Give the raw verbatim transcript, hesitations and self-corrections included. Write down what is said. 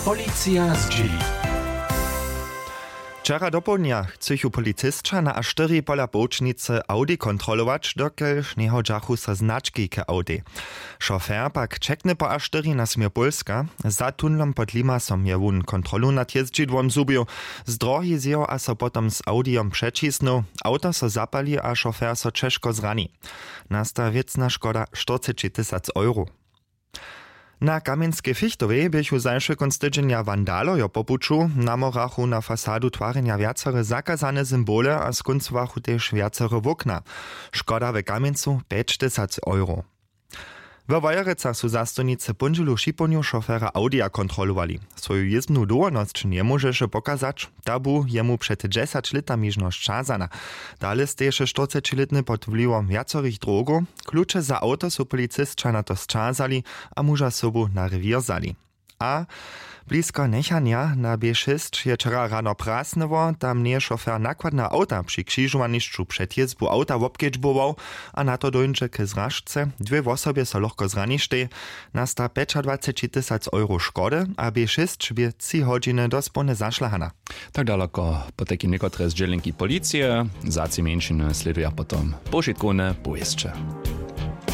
Policija zdźěli. Wčera dopołdnja chcychu policisća na a štyri pola połčnicy Audi kontrolować, dokelž njehodźachu so znački k Audi. Šofer pak čekny po a štyri na směr Pólska. Za tunlom pod Limasom je wón kontrolu nad jězdźidłom zhubił, zdrohi zjěł a so potom z Audijom přećisnył. Awto so zapali a šofer so ćežko zrani. Nasta wěcna škoda štyrceći tysac euro. Na Kamjenskej Fichtowej běchu zašły kónc tydźenja wandalojo po puću, namorachu na fasadu twarjenja wjacore zakazane symbole a skóncowachu tež wjacore wokna. Škoda w Kamjencu pjećtysac euro. We Wojerecach su zastojnicy póndźelu w šipołdnju šofera Audija kontrolowali. Swoju jězbnu dowolnosć njemóžeše pokazać, ta bu jemu před dźesać lětami žno sćazana. Dale steješe štyrcećilětny pod wliwom wjacorych drogow. Kluče za awto su policisća na to sćazali a muža sobu na rewěr wzali. A blisko Njechanja na B šěsć je wčera rano prasnyło. Tam njeje šofer nakładneho awta při křižowanišću před jězbu awta wobkedźbował a na to dóńdźe k zražce. Dwě wosobje so lochko zraništej. Nasta pjećadwaceći tysac euro škody a B šěsć bě tři hodźiny dospołnje zašlahana. Tak daloko potajkim někotre zdźělenki policije. Za tři mjeńšiny slěduja potom powšitkowne powěsće.